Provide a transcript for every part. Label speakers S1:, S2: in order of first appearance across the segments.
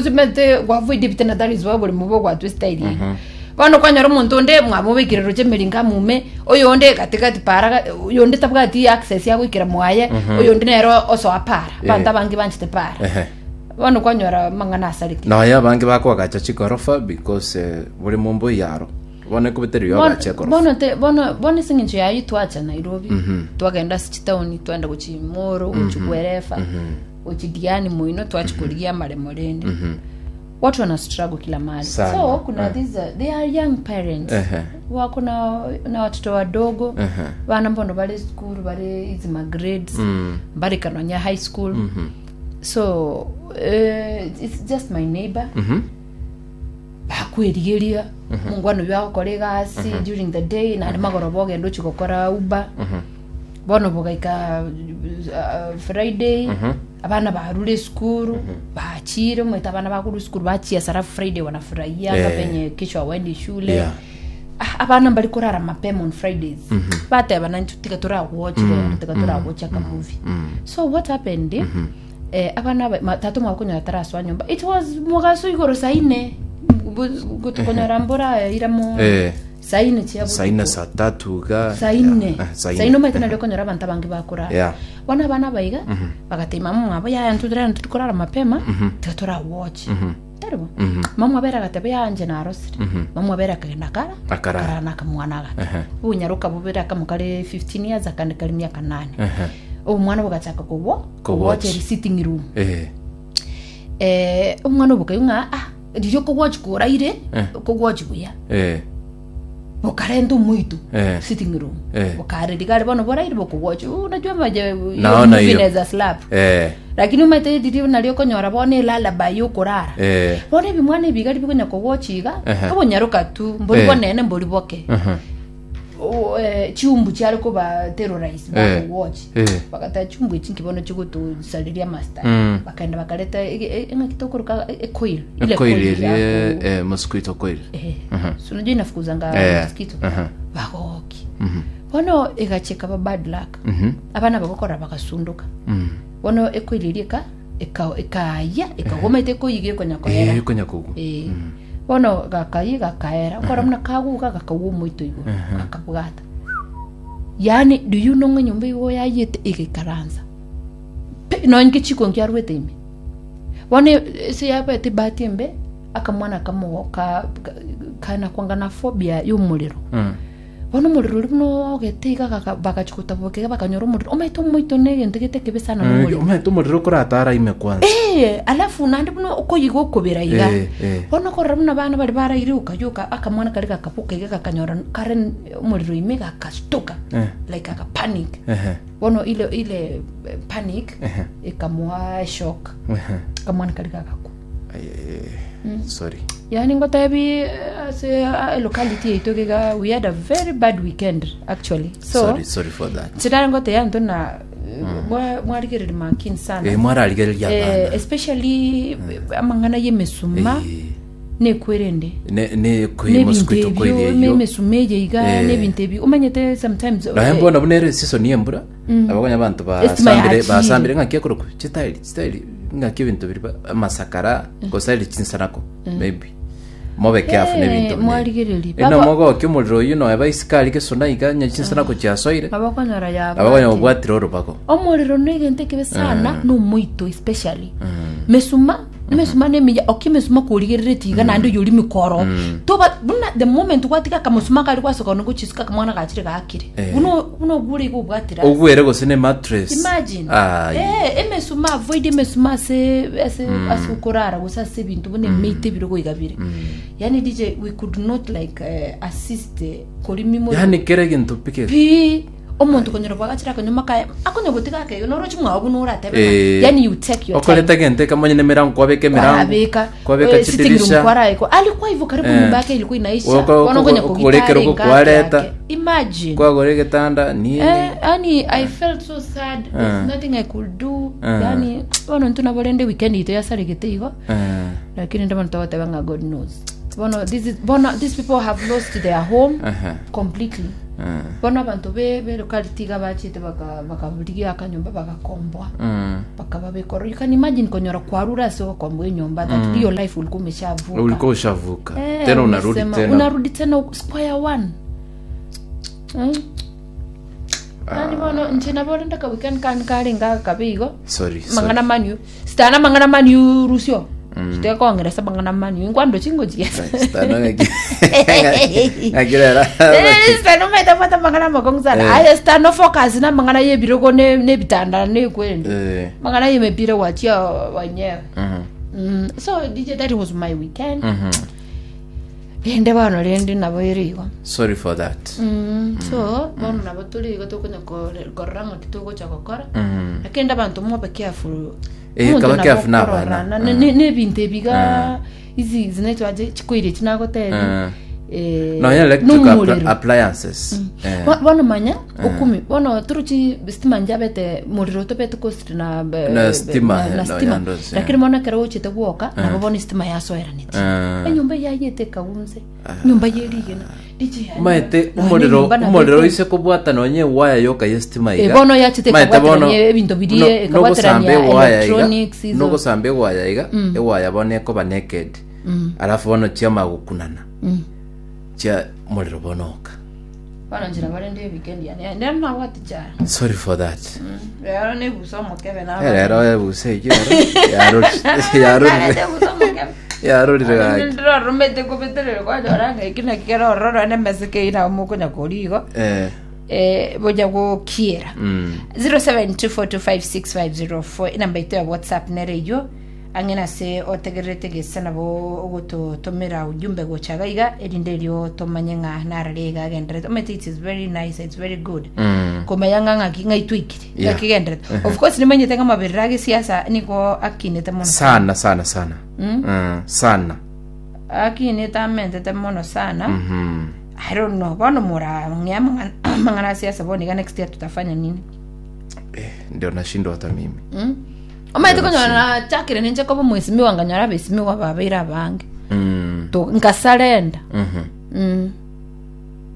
S1: Omanyete gwavoid ebitanda that is why oboremo bogwatwa estyle eyio. Bono kwanyora omonto onde mwamobekire roche emeringo amume, oyonde gatigati para ga- oyonde tabwati access ya goikera mwaye, oyonde nere osoa para. Abanto
S2: Eh.
S1: abange banchete para.
S2: Ehe.
S1: Bono kwanyora amang'ana asareke.
S2: Nonya abange bakoagacha chigorofa because eh, bore mombo yaro. Bono ekobetereria
S1: Bono-
S2: oagache egorofa.
S1: bono te- bono bono ase eng'encho yaye twacha Nairobi, twagenda ase chitaoni twaenda gochia Moro, gochia Kwerefa. Gochia Diani moino twachia korigia amaremo rende. Watu wana struggle kila mahali.
S2: Sana.
S1: So kuna
S2: Eh.
S1: these they are young parents.
S2: Ehe.
S1: Wako na na watoto wadogo.
S2: Ehe.
S1: Bana mbono bare school bare hizi ma grades. Bare kanonya high school. So it's just my neighbor. Bakwerigeria mongwana oyio agokora egasi during the day naende magoroba ogenda ochia gokora uber. Bono bogaika uh, Friday abana barure esukuru bachire omanyete abana bakorwa esukuru bachiesa alafu Friday wanafurahia
S2: Eh.
S1: penye kesho hawaendi shule
S2: Yeah.
S1: Ah, abana mbari korara mapema on Fridays bateba nanche tiga torawatch rero tiga torawatch aka movie so what happened eh, abana aba- ma- tata omwabo konyora tarasoa nyomba it was mogaso igoro saa ine Bu- konyora mbora ira mo
S2: Eh.
S1: Saa ine chia
S2: Saa ine
S1: botuko.
S2: saa tatu iga
S1: Saa ine.
S2: Yeah, eh, saa
S1: Saa ine omanyete nario okonyora abanto abange bakorara.
S2: Yeah.
S1: Bono abana aba iga, bagatebia mama omwabo yaya intwe rero ntiri korara mapema, tiga tora watch. Tari bo? Mama omwabo ere agateba yaya inche narosire. Mama omwabo ere akagenda akara,
S2: Akarara.
S1: akarara na akamwana agake.
S2: Ehe.
S1: Obonyaroka bobere akamo kare 15 years akande kare miaka nane.
S2: Ehe.
S1: Omwana bogachaka kowo,
S2: Kowatch.
S1: kowatch eri sitting room.
S2: Eh.
S1: Eh, omwana obokaigwa ng'a ah, riria okogwatch koraire,
S2: Eh.
S1: okogwatch buya.
S2: Eh.
S1: Bokarenta omoito
S2: Eh.
S1: sitting room
S2: Eh.
S1: bokareri kare bono boraire bokogwacha unajua maje
S2: Naona hiyo.
S1: inaweza slap
S2: Eh.
S1: lakini omanyete riria nario okonyora bono elullaby ya okorara
S2: Eh.
S1: bono ebimwana ebi iga ribikonya kogwacha iga
S2: Ehe.
S1: obonyaroka tu mbori
S2: Eh.
S1: bonene mbori boke
S2: Mhm.
S1: O, eh, chiumbu chiare koba terrorize
S2: Eh.
S1: bakogwachi
S2: Eh.
S1: bagateba chiumbu echi nki bono chigotosareria amasitari
S2: Mm.
S1: bakaenda bakareta ege- e- eng'aki tokoroka e- ecoil ile
S2: Coil
S1: coil
S2: eria
S1: ya ku-
S2: eh, mosquito coil.
S1: Eh, so unajua inafukuzanga
S2: Eh,
S1: mosquito
S2: aha.
S1: bagoki bono egachia ekaba bad luck abana bagokora bagasunduka bono ekoil eria eka eka- ekaya ekagoma ete ekoiga ekonya koera
S2: Eh, konya kogwa.
S1: Eh, bono gakayia gakaera okora buna kaguga gakagwa omoito igoro gakabwata yaani do you know ng'a enyomba igo yayete egaikaransa Pi, nonya nkechiko nkiarwete ime Bono ase yabete ebahati embe, akamwana akamo ka kanakwanga na phobia ya omorero. Bono omorero oria buna ogete iga gaka bagachia gotaboka iga bakanyora omorero, omanyete omoito na egento gete ekebe sana na omorero.
S2: Omanyete omorero okoratara ime kwanza.
S1: Eh, alafu naende buna okoyiga okobera iga.
S2: Eh, eh.
S1: Bono okorora buna abana baria baraire okayoka, akamwana karia gakaboka iga gakanyora kare omorero ime gakastuka,
S2: Eh.
S1: like agapanic.
S2: Ehe.
S1: Bono ile ile eh, panic
S2: Ehe.
S1: ekamoa shock
S2: Ehe.
S1: akamwana kari gagakwa
S2: Ai, ai, ai. Sorry.
S1: yani ngotebi eh, ase ah, locality yaito iga we had a very bad weekend actually so
S2: Sorry, sorry for that.
S1: nchirare ngoteya nto na eh, mwa- mwarigereria makini sana
S2: Eh, mwararigereria
S1: eh,
S2: abana.
S1: especially amang'ana y'emesuma
S2: Eh.
S1: nekwerende
S2: Ne ne koi
S1: nebinto
S2: mosquito
S1: ebio
S2: coil eyo.
S1: emesuma eye iga
S2: Eh.
S1: nebinto ebio omanyete sometimes
S2: Naye
S1: eh,
S2: mbona buna ere season y'embura abakonya abanto
S1: Estima
S2: basambire
S1: yachire.
S2: basambire ng'aki ekorokwa chitairi chitairi ng'aki ebinto biri ba- amasakara gose ere chinsanako maybe mobe careful
S1: Eh,
S2: nebinto buna ebi.
S1: mwarigereria.
S2: Eno
S1: Baba-
S2: mogokia omorero oyio noe baisikari gesona iga nya chinsanako chiasoire
S1: abakonyora yabwatire.
S2: abakonya obwatire orobago
S1: omorero negento ekebe sana nomoito especially mesuma Emesuma nemiya, okia emesuma korigereretie iga naende oyori mikoro. Toba buna the moment gwatiga akamosuma kare gwasoka one gochisuka akamwana gachire gaakire.
S2: Eh.
S1: Buna buna ogure iga obwatire ase.
S2: Ogwere gose ne mattress.
S1: Imagine.
S2: Ai.
S1: Eh, emesuma avoid emesuma ase ase ase okorara gose ase ebinto buna emeito ebirogo iga bire. Yaani DJ we could not like eh, assist eh, korimi more.
S2: Yaani kera egento pi kere.
S1: Pi Omonto konyora bwagachire akanyoma kaye, akonya gotiga akeigo, noroche mwao buna oratebe ng'a,
S2: Eh.
S1: yani you take your
S2: Okoreta
S1: time.
S2: egento ekemonye na emerango kwabeka emerango
S1: Kwarabeka,
S2: kwabeka
S1: eh, sitting room
S2: chidirisha
S1: kwaraekwa. Alikuwa hivyo karibu
S2: Eh.
S1: nyumba yake ilikuwa inaisha.
S2: Oko-
S1: Bono okonya
S2: oko-
S1: kogita
S2: okorekera
S1: are
S2: oko
S1: engaki
S2: kwareta.
S1: yake. Imagine.
S2: kwagora egetanda nini
S1: Eh, yani I felt so sad. There's
S2: Eh.
S1: nothing I could do.
S2: Eh.
S1: Yani bono intwe nabo rende weekend ito yasaregete igo.
S2: Eh.
S1: Lakini ndabo togoteba ng'a God knows. Bono this is bono these people have lost their home
S2: Aha.
S1: completely. Bono abanto be belocality iga bachete baka bakarigia akanyomba bagakomboa. Bakababeka ororo. You can imagine konyora kwarure ase ogokomboa enyomba that your life ulikuwa umeshavuka.
S2: Ulikuwa ushavuka.
S1: Eh,
S2: Tena unarudi
S1: umesema,
S2: tena.
S1: Unarudi tena square one. Nani bono inche nabo rende ka weekend kani karenge akabe igo.
S2: Sorry, sorry.
S1: Mang'ana maniu. Sitana mang'ana maniu rusio. Sitekongeresa mang'ana maniu. Inkwando chingochiesa.
S2: Sitana ng'aki- ng'akirera.
S1: Sitana omaete abwate amang'ana amakong'u sana.
S2: Eh.
S1: Aye sitana focus na amang'ana ya ebirogo ne nebitanda nekwende.
S2: Eh.
S1: Mang'ana ya emepira gwachia wenyewe.
S2: Mhm.
S1: So DJ that was my weekend.
S2: Mhm.
S1: Rende bono rende nabo ere igo.
S2: Sorry for that.
S1: So bono nabo tore igo tokonya kore- korora ng'aki togocha gokora.
S2: Mhm.
S1: Lakini inde abanto mobe careful.
S2: Eh,
S1: Omonto
S2: kaba
S1: nabo
S2: careful na
S1: okorora,
S2: abana.
S1: na- ne- nebinto ebiga izi zinaitwa aje chikoiri echi nagotebi.
S2: Mm.
S1: Eh,
S2: Nonya electric
S1: nomorero.
S2: appliances. Eh.
S1: Bono manya okumi bono torochi stima njabete morero tobete costly na
S2: Na stima,
S1: na, na
S2: no,
S1: stima
S2: yandosi,
S1: lakini bono ekero gochete gwoka nabo bono stima yasoeraneti enyomba yayete ekagunse nyomba yerigena DJ
S2: Maete
S1: nonya
S2: omorero
S1: enyomba nabo
S2: omorero
S1: ete-
S2: oise kobwata nonye ewaya yoka ye stima
S1: Eh,
S2: iga.
S1: bono yachete
S2: Maete
S1: ekabwaterania
S2: bono
S1: ebinto biria,
S2: nogosamba
S1: ekabwaterania
S2: ewaya iga,
S1: electronics izo.
S2: nogosamba ewaya iga ewaya bono ekoba naked alafu bono chiama gokunana chia omorero bono oka
S1: Bono nchera barende weekend yane nero nabwate chara
S2: sorry for that
S1: rero nebusa omokebe na
S2: Eh, rero ebuse eyio rero yarorire
S1: Narete ebusa omokebe
S2: yarorire gaki
S1: ndiroromete kobeterere kwanyora ng'a eki naki kere ororo ane emeseke eyio nabo mokonya koria igo
S2: eh
S1: eh, bonya gokiera
S2: mm.
S1: 0724256504 enamba ito ya whatsapp nere eyio Ang'e nase otegererete gese nabo ogototomera ujumbe gocha iga iga erinde erio tomanye ng'a narare iga agenderete omanyete it is very nice it's very good
S2: Mm.
S1: komanya ng'a ng'aki ng'ai twaikire
S2: Yeah.
S1: ng'aki genderete of course nimanyete ng'a amaberero a gesiasa nigo akinete mono
S2: sana sana sana mm. sana
S1: akinete amentete mono sana
S2: mm.
S1: I don't know bono morang'e amang'ana amang'ana a siasa bono iga next year tutafanya nini
S2: eh, ndio nashindwa hata mimi
S1: mm? Omanyete konyora nachakire ninche koba omwesimigwa nkanyora abesimigwa babeire abange.
S2: Mm.
S1: To- Nkasarenda.
S2: Mhm.
S1: Mm.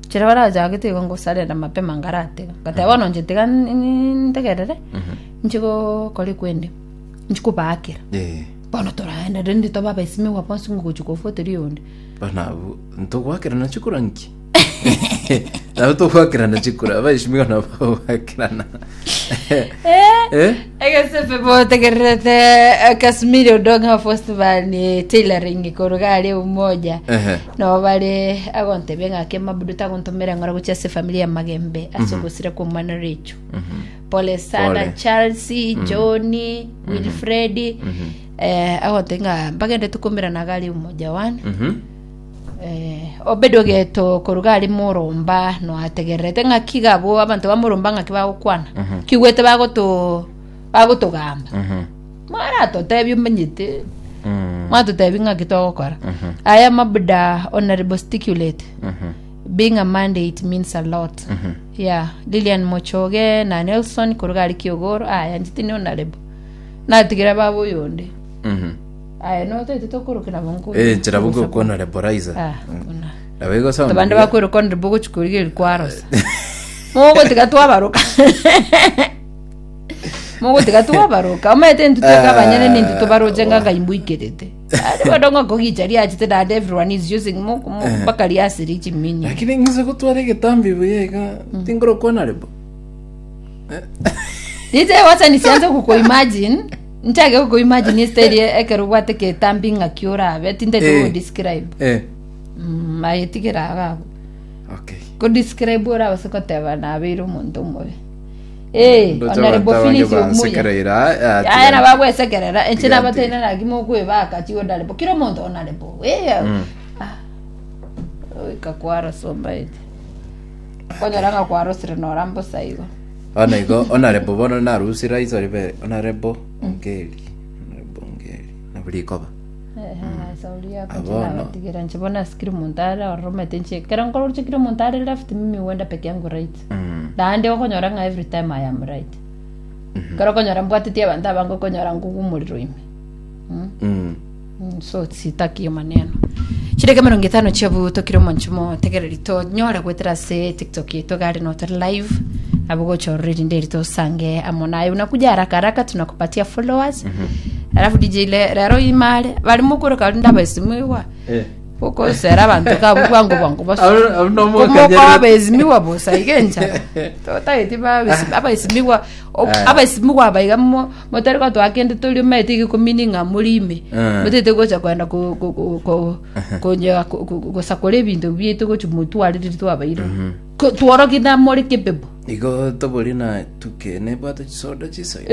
S1: Chira barachagete igo ngosarenda mapema nkaratega. Ngateba bono inche tiga n- n- ntegerere, inche gokora ekwende, inche kobaakera.
S2: Eh,
S1: Bono toraenda rende tobe abesimigwa bonsi ngogochi kofuateria oyonde.
S2: bana abwo ntogwakerana chikura nki? Nabo togwakerana chikura abaishimiwa nabo bagwakerana. Eh?
S1: Egesefe botegererete Kasmiri Odonga Festival ni tailoring koruga are umoja
S2: Ehe.
S1: no bare agontebia ng'ake mabudu tagontomera ng'ora gochia ase familia ya Magembe ase ogosira kwa omwana Rachel pole sana
S2: Pole.
S1: Chelsea Johnny Wilfred eh, agontebia ng'a mbagende tukumerana gari umoja one
S2: Mhm.
S1: Eh, Obedi ogeto koruga ari moromba noategererete ng'aki iga abwo abanto ba moromba ng'aki bagokwana kigwete bagoto bagotogamba
S2: Mhm.
S1: mwaratotebia omanyete
S2: Mm.
S1: mwatotebia ng'aki togokora aya mabuda honorable sticulate
S2: Mhm.
S1: being a mandate means a lot yeah lilian mochoge na nelson koruga ari kiogoro aya inche tindi honorable natigera baba oyonde
S2: Mhm.
S1: Aye notoete tokoroka nabo nko.
S2: Eh, nchera bugo okwana reborizer.
S1: Ah, kuna.
S2: Nabo igo sound.
S1: Abande bakweroka honorable gochi korigereria kwarosa. Mogotiga twabaroka. Mogotiga twabaroka. Omanyete intwe tweka abanyene nintwe tobaroche ng'a ngai mboikerete. Ari bono ng'a kogicha riachete naende everyone is using mo mpaka riasire chiminyo.
S2: Lakini ng'ise gotwara egetambi buya iga tingorokwana rebo.
S1: Inche wacha nisianze kukuimagine Nchake gokoimagine estyle ekero obwate ketambi ng'aki orabe tintagete
S2: Eh.
S1: godescribe
S2: Eh.
S1: aye tigera iga abwo.
S2: Okay.
S1: Kodescribe orabase koteba nabeire omonto omobe. Eh,
S2: Ndoche
S1: Honorable
S2: abanto abange
S1: Phyllis Omuya.
S2: bansekereire, ah, ah,
S1: Aya
S2: tiga-
S1: nabagwesekerera inche
S2: tiga-
S1: nabateine naki mokwebaka chi honorable kera omonto honorable eh ah oika kwarosa ombaete konyora ng'a kwarosire nora mbosa igo
S2: Bono igo honorable bono narusire iso ribe honorable Ongeri honorable Ongeri nabo rikoba Abono.
S1: nabatigera inche bono ase kera omonto are ororo omanyete inche ekero nkoroche kera omonto are left mimi huenda peke yangu right naende okonyora ng'a every time I am right ekero okonyora mbwatetie abanto abange okonyora nkogwa omorero ime
S2: Mm.
S1: So sitaki hiyo maneno. Chideka emerongo etano chiabutokire omonche motegereri tonyore gwetera ase tiktok yetu gari notore live nabo gochorora erinde eri tosange amo naye unakuja haraka haraka tunakupatia followers alafu dj le, rero imare bari mokoroka rinde abaesimigwa
S2: Eh.
S1: okosera abanto kabu bwango bwango bas
S2: Abu- abu nomokanyerera.
S1: Komokoa abaesimigwa bosa iga enchara totageti babesi- abaesimigwa
S2: Aya.
S1: Abaesimigwa aba iga mo- motari gotoa kende tori omanyete iga ekomini ng'a more ime,
S2: Eh.
S1: motete gocha kogenda ko- ko- ko- ko- konya ko- ko- gosakora ebinto biaito gochia motware riria twabaire. Ko- Tworokie na more capable.
S2: Igo tobori na tuke nebwate chisoda chisoine.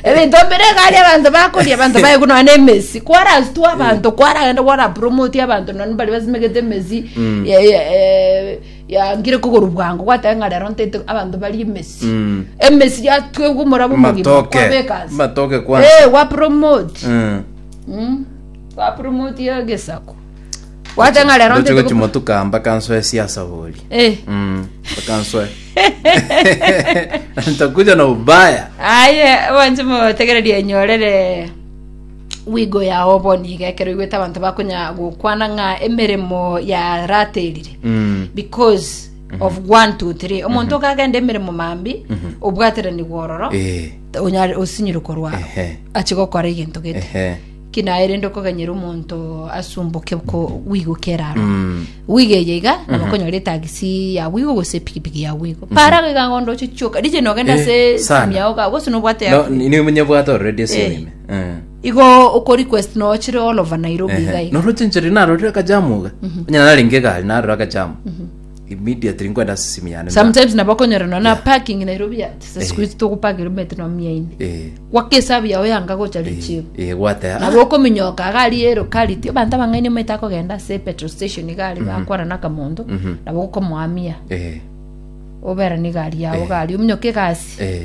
S1: Ebinto mbire iga aria abanto bakoria abanto baye nonya na emesi kwarasitwa abanto kwaragenda kwara promote abanto nonya baria basimegete emesi ya- ya- eh, Yangire kogoro bwango gwateba ng'a rero ntaete abanto barie emesi.
S2: Mm.
S1: Emesi yatwegwa omorabwo omogima
S2: Matoke.
S1: kwabeka ase.
S2: Matoke kwanza.
S1: Eh, gwa promote.
S2: Mm.
S1: Mm. Gwa promote ya gesaku. Gwateba ng'a rero
S2: Ndoche
S1: ntaete
S2: gochi
S1: go-
S2: motuka mpaka nsoe siasa bori.
S1: Eh.
S2: Mm. Mpaka nsoe. Nitakuja na ubaya.
S1: Aye, bonsi motegererie enyorere wigo yao bono iga ekero oigwete abanto bakonya gokwana ng'a emeremo yaraterire
S2: Mm.
S1: because of 1 2 3 omonto okagenda emeremo mambi obwateranigwa ororo
S2: Eh.
S1: onyare osinyire korwa
S2: Ehe.
S1: achi gokora egento gete
S2: Ehe.
S1: ki naye rende okoganyera omonto asumboke ko wigo keraro
S2: Mm.
S1: wigo eye iga nabo okonyora etagisi ya wigo gose epikipiki ya wigo para iga ngondo oche chioka riche nogenda
S2: Eh,
S1: ase
S2: sana.
S1: simu yao ga gose nobwate
S2: No,
S1: app.
S2: ni munyebwate already
S1: Eh.
S2: esimu ime. Eh.
S1: Igo oko request nochire all over Nairobi iga
S2: Ehe.
S1: iga.
S2: Noroche nchiri narorire akajamu iga. Onye narenge egari narora akajamu. Immediately nkwenda ase esimu yane.
S1: Sometimes nabo okonyora nonya na parking Nairobi ya siku hizi togopakera omanyete nonya mia ine.
S2: Eh.
S1: Gwaka esabu yao yanga gocha richibu.
S2: Eh, gwatea.
S1: Nabo okominyoka iga aria ero kariti abanto abang'aini omanyete akogenda ase petrol station iga aria bakwana na akamonto nabo okomoamia
S2: Eh.
S1: oberane egari yao iga aria ominyoke egasi.
S2: Eh.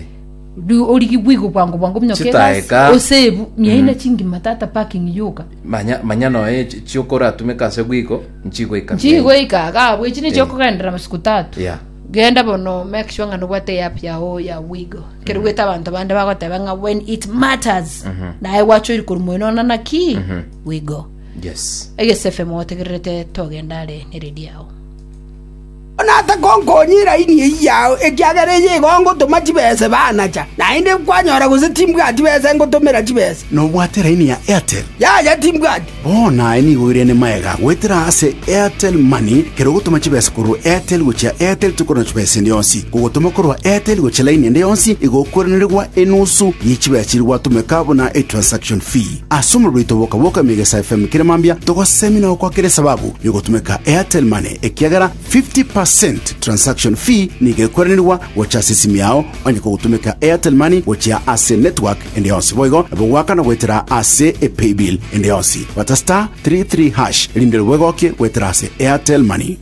S1: Riu origi bwigo bwango bwango ominyoke egasi
S2: Chitaeka.
S1: osebu mia ine chingima tata parking yoka.
S2: Manya manya noe chi- chiokoratumeka ase bwiko nchigoika. mia ine.
S1: Nchigoika iga abwo echi nichio okogenderera masiku tatu.
S2: Yeah.
S1: Genda bono make sure ng'a nobwate eapp yao ya Wigo. Ekero ogwete abanto bande bagoteba ng'a when it matters naye gwachoire korwa moino ona naki Wigo.
S2: Yes.
S1: Egese FM otegererete togenda are ne radio yao.
S3: Onatakonkonya eraini eyio yao, ekiagera eye igo ngotoma chibese banacha, naende kwanyora gose timbwati besa ngotomera chibesa.
S4: Nobwate eraini ya Airtel?
S3: Yaya timbwati.
S4: Bono aye nigo oirene magega goetera ase Airtel Money kero ogotoma chibesa korwa Airtel gochia Airtel tokorwa chibesa ende yonsi. Kogotoma korwa Airtel gochia laini ende yonsi igo okoiranerigwa enusu ye chibesa chiria gwatomeka buna etransaction fee. Ase omorero oito boka boka Megesa FM kera mambia togosemia na gokwakera esababu yogotumeka Airtel Money ekiagera 50% transaction fee nigo ekoiranerigwa gocha ase esimi yao onye kogotumeka Airtel Money gochia ase network ende yonsi boigo nabo goakana goetera ase epaybill ende yonsi. Bata *33# erinde bwegokie goetera ase Airtel Money.